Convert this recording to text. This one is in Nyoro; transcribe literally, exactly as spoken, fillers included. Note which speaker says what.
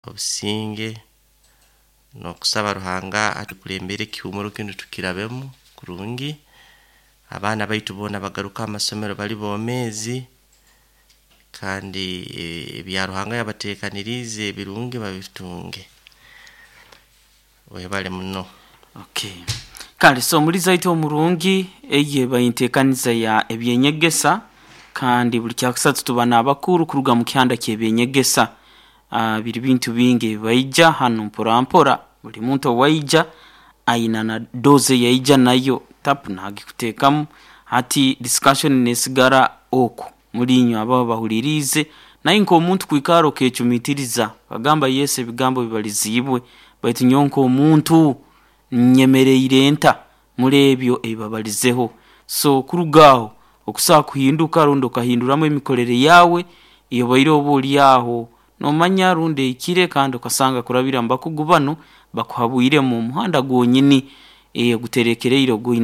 Speaker 1: Obusinge n'okusaba Ruhanga atukulembere ekihumuro kinu tukirabemu kurungi, abaana baitu boona bagaruke ha masomero bali bomeezi, kandi ebya Ruhanga yabateekaniriize ebirungi babitunge. Webale muno.
Speaker 2: Okay. Kale so omulizi waitu omurungi eyo eba enteekaniza ya ebyenyegesa, kandi buli kyakusatu tuba n'abakuru kuruga mu kihanda ky'ebyenyegesa. uh, biri bintu bingi ebibaija hanu mpora mpora, buli muntu owaija aina na dose eyaija nayo tapu nagikuteekamu. Hati discussion nesigara oku muli inywe ababa bahuliriize, naye nk'omuntu kwikara okecumitiriza okagamba yes, ebigambo bibaliziibwe, baitu nyowe nk'omuntu nyemereire nta muri ebyo ebibabalizeho. So kuruga aho okusobola kuhinduka rundi okahinduramu emikorere yaawe eyobaire oba ori aho nomanya rundi ehikire, kandi okasanga kurabira mu bakugu banu bakuhabwiremu omuhanda gwonyini oguterekereire ogu.